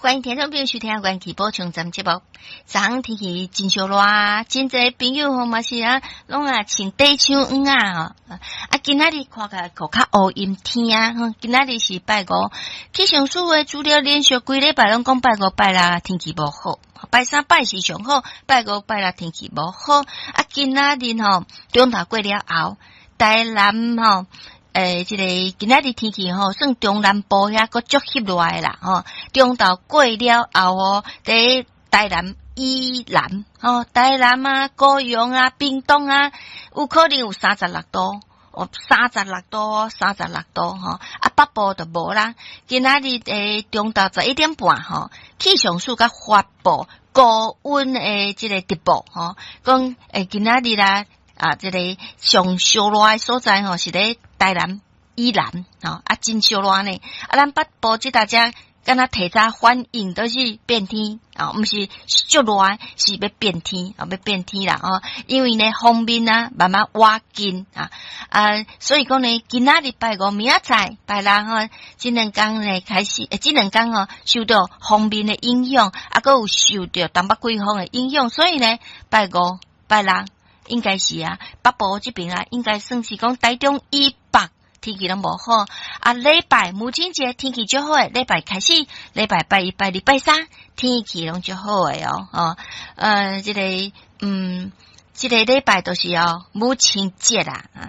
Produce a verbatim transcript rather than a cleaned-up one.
歡迎聽眾朋友收聽元氣補充站節目。昨昏天氣真燒熱，真濟朋友吼嘛是啊，攏啊穿短袖衫仔吼。啊，今仔日看起來閣較烏陰天啊。今仔日是拜五，氣象署的資料連續幾禮拜攏講拜五拜六天氣無好，拜三拜四上好，拜五拜六天氣無好。啊，今仔日吼中晝過了後，台南吼。欸，這個今仔日天氣吼，算中南部遐閣足翕熱的啦，吼。中晝過了後哦，佇台南以南，吼，台南啊、高雄啊、屏東啊，有可能有三十六度，哦，三十六度，三十六度，吼。啊，北部就無啦。今仔日欸中晝十一點半，吼，氣象署閣發布高溫的這個直報，吼，講欸今仔日啦。啊，這個上燒熱的所在吼，是咧台南以南，吼啊，真燒熱呢。啊，咱北部這搭遮敢若提早反應都是變天，啊，毋是足熱，是欲變天，啊，欲變天啦，哦，因為呢，鋒面啊慢慢倚近啊，啊，所以講呢，今仔日拜五明仔載拜六吼，這兩工呢開始，欸，這兩工吼受到鋒面的影響，啊，閣有受著東北季風的影響，所以呢，拜五拜六。應該是啊，北部這邊啊，應該算是講台中以北天氣攏無好。啊，禮拜母親節天氣足好的，禮拜開始，禮拜拜一、拜二、拜三天氣攏足好的哦。哦，呃，這個，嗯，這個禮拜就是哦，母親節啦。